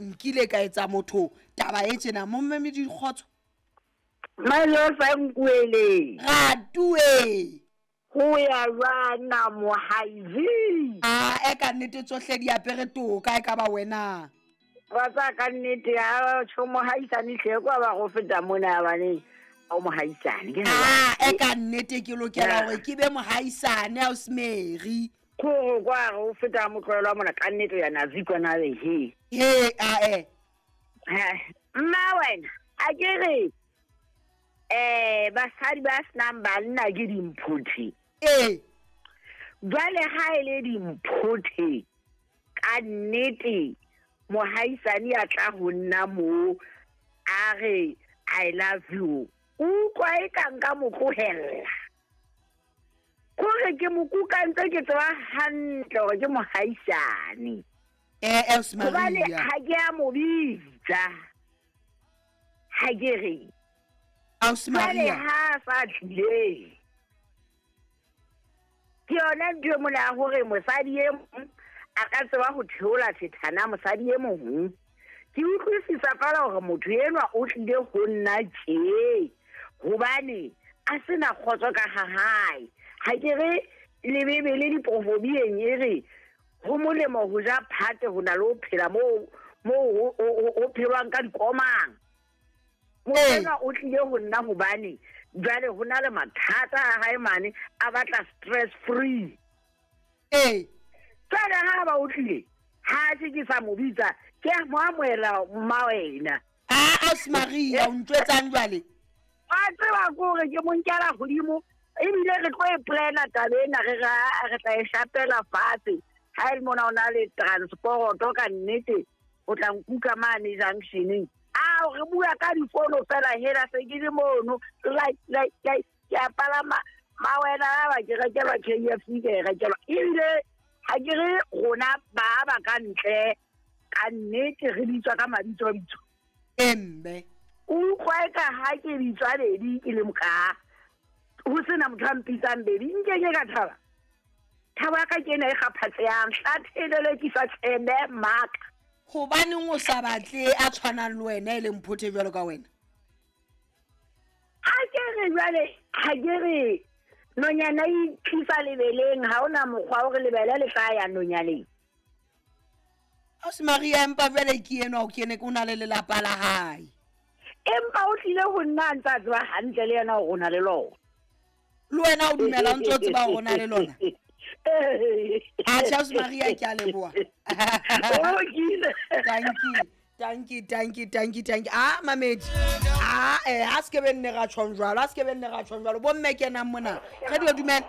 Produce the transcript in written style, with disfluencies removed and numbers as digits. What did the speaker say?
Nkile ka etsa motho taba e tjena mommamedi dikgotso. Malosa nkuele. Ratue. Ho ya jwang na mohaizi? A e ka nnete tsohle di apere toka e ka ba wena. Wa tsaya ka nnete a tjho mohaisane hle kwa ba go feta mona bane o mohaisane. Ke A e ka nnete ke lokela hore ke be mohaisane ausi Mary. Kore kwa re o feta motlwelo mona ka nnete ya nazi kwana le he. He a e. Mma wena a ke re basadi ba senang banna ke dimphothe. Ee. Jwale ha e le dimphothe ka nnete mohaisane a tla ho nna mo a re I love you. O utlwa e ka nka mo tlohella. Kore ke mo kuka ntse ke tseba hantle hore ke mohaisane. Ausi Hobane Maria. ha ke a mo bitsa. Ha ke re. Ausi Jwale Maria. ha a sa tlile. Ke yona ntho e mona ya hore mosadi e mong a ka tseba ho theola thethana mosadi e mong. Ke utlwisisa feela hore motho enwa o tlile ho nna tje hobane a sena kgotso ka ha hae. Ha ke re le Bibele diproverbieng e re ho molemo ho ja phate ho na le ho phela moo moo ho phelwang ka dikomang. Motho enwa o tlile ho nna hobane jwale ho na le mathata a hae mane a batla stress free. Ee. Jwale ha ba o tlile ha se ke sa mo bitsa ke a mo amohela mma wena. A Ausi Maria o ntjwetsang jwale? Wa tseba ke hore ke mo nkela hodimo ebile re tlo e plana taba ena re re tla e shapela fatshe. Ha e le mona o na le transporoto ka nnete o tla nkuka mane junctioneng. A re bua ka difono fela hela se ke le mono like like like ke a palama ma wena ba ke rekelwa KFC ke e rekelwa ebile ha ke re rona ba ba ka ntle ka nnete re bitswa ka mabitso bitso. Emme. O utlwa e ka ha ke bitswa baby ke le moka ho sena motho a mpitsang baby nke ke ka thaba. Thabo ya ka ke ena e kgaphatsehang hlathelele ke sa tsebe maka. Hobaneng o sa batle a tshwanang le wena e leng phothe jwalo ka wena? Ha ke re jwale ha ke re nonyana e tlisa lebeleng ha ona mokgwa hore lebele le tla ya nonyaneng. Ausi Maria empa jwale ke enwa o kene o na le lelapa la hae. Empa o tlile ho nna a ntse a tseba hantle le yena hore o na le lona. Le wena o dumela o ntse o tseba hore o na le lona? Atjhe Ausi Maria ke a leboha. Thank you. Thank you, thank you, thank you, thank you. Ah, mamedi. Ah, ha se ke be nne ra tjhong jwalo, ha se ke be nne ra tjhong jwalo. Bo mme kenang mona. Re di dumela.